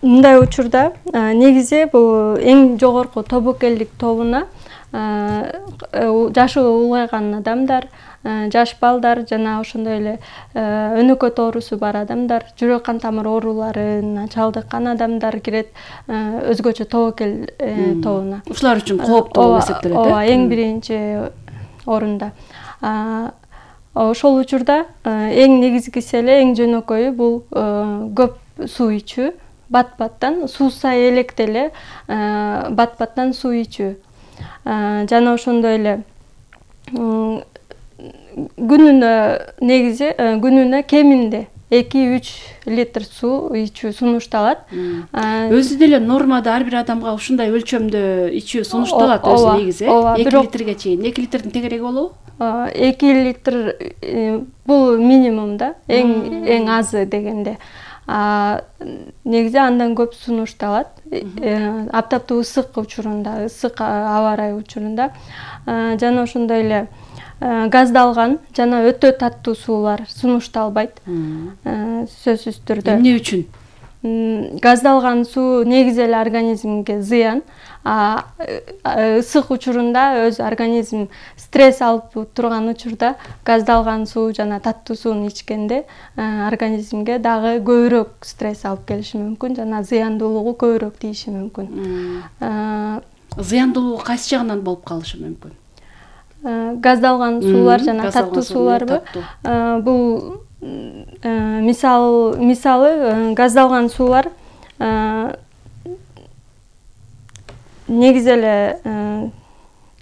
мындай учурда негизи бул эң жогорку тобокелдик тобуна жашы улгайган адамдар, жаш балдар жана ошондой эле өнөкөт оорусу бар адамдар, жүрөк кан тамыр ооруларына чалдыккан адамдар кирет өзгөчө тобокел тобуна. Ушулар үчүн кооптуу болуп эсептелет. Ооба, эң биринчи орунда. Ошол учурда эң негизгиси эле, эң жөнөкөйү бул көп суу ичүү, бат-баттан суусай электе эле бат-баттан суу ичүү. Жана ошондой эле күнүнө кеминде 2-3 литр суу ичүү сунушталат. Өзү деле нормада ар бир адамга ушундай өлчөмдө ичүү сунушталат өзү негизи. 2 литрге чейин. 2 литрдин тегереги болобу? 2 литр бул минимум да, эң азы дегенде. Негизи андан көп сунушталат. Аптаптуу ысык учурунда, ысык аба ырайы учурунда. Жана ошондой эле газдалган жана өтө таттуу суулар сунушталбайт. Сөзсүз түрдө. Эмне үчүн? Газдалган суу негизи эле организмге зыян. Ысык учурунда өз организм стресс алып турган учурда газдалган суу жана таттуу сууну ичкенде организмге дагы көбүрөөк стресс алып келиши мүмкүн жана зыяндуулугу көбүрөөк тийиши мүмкүн. Зыяндуулугу кайсы жагынан болуп калышы мүмкүн? Газдалган суулар жана таттуу сууларбы? Бул мисалы газдалган суулар негизи эле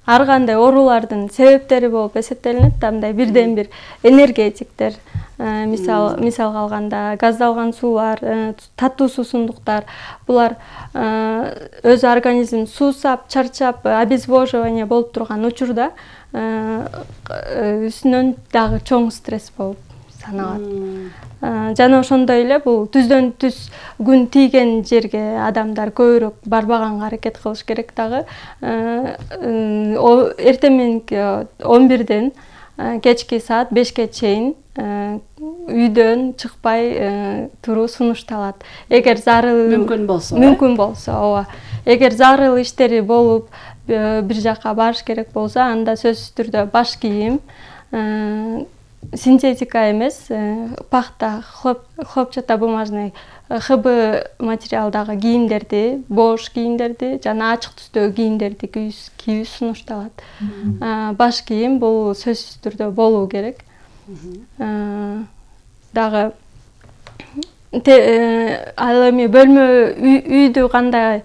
ар кандай оорулардын себептери болуп эсептелинет. Мындай бирден бир энергетиктер, мисалга алганда газдалган суулар, таттуу суусундуктар, булар өз организм суусап, чарчап, обезвоживание болуп турган учурда үстүнөн дагы чоң стресс болуп саналат. Жана ошондой эле бул түздөн түз күн тийген жерге адамдар көбүрөөк барбаганга аракет кылыш керек дагы. Эртең мененки 11ден кечки саат 5ке чейин үйдөн чыкпай туруу сунушталат. Эгер зарыл мүмкүн болсо, ооба. Эгер зарыл иштери болуп бир жака барыш керек болсо, анда сөзсүз түрдө баш кийим, синтетика эмес, пахта, хлопчатобумажный ХБ материалдагы кийимдерди, бош кийимдерди жана ачык түстөгү кийимдерди кийүү сунушталат. Баш кийим бул сөзсүз түрдө болуу керек. Дагы ал эми бөлмө үйдү кандай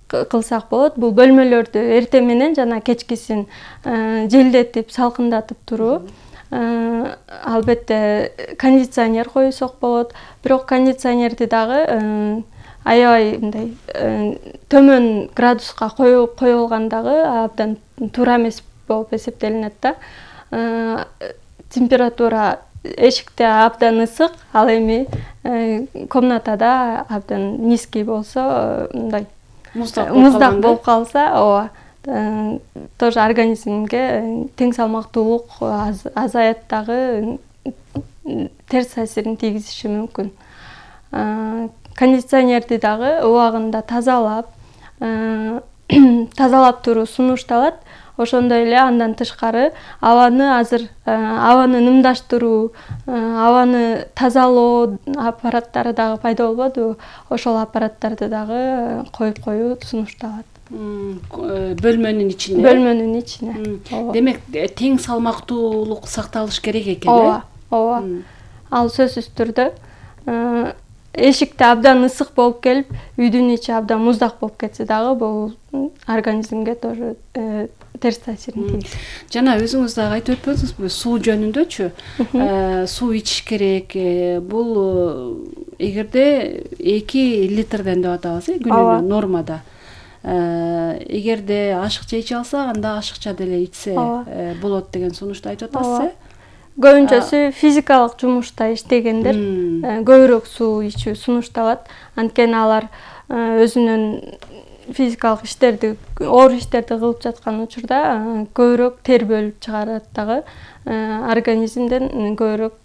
кылсак болот? Бул бөлмөлөрдү эртең менен жана кечкисин желдетип, салкындатып туруу. Албетте кондиционер коюсак болот. Бирок кондиционерди дагы аябай мындай төмөн градуска коюлгандагы абдан туура эмес болуп эсептелинет да. Температура эшикте абдан ысык, ал эми комнатада абдан низкий болсо, мындай муздак болуп калса, ооба, тоже организмге тең салмактуулук азаят дагы терс таасирин тийгизиши мүмкүн. Кондиционерди дагы убагында тазалап туруу сунушталат. Ошондой эле андан тышкары абаны нымдаштыруу, абаны тазалоо аппараттары дагы пайда болбодубу? Ошол аппараттарды дагы коюп коюу сунушталат. Бөлмөнүн ичине. Бөлмөнүн ичине. Демек, тең салмактуулук сакталыш керек экен, э? Ооба. Ал сөзсүз түрдө эшикте абдан ысык болуп келип, үйдүн ичи абдан муздак болуп кетсе дагы бул организмге тоже терс таасирин тийгизет. Жана өзүңүз дагы айтып өтпөдүңүзбү, суу жөнүндөчү? Суу ичиш керек. Бул эгерде 2 литрден деп атабыз, күнүнө нормада. Эгерде ашыкча иче алса, анда ашыкча деле ичсе болот деген сунушту айтып атасыз, э? Көбүнчөсү физикалык жумушта иштегендер көбүрөөк суу ичүү сунушталат. Анткени алар өзүнүн физикалык иштерди, оор иштерди кылып жаткан учурда көбүрөөк тер бөлүп чыгарат дагы, организмден көбүрөөк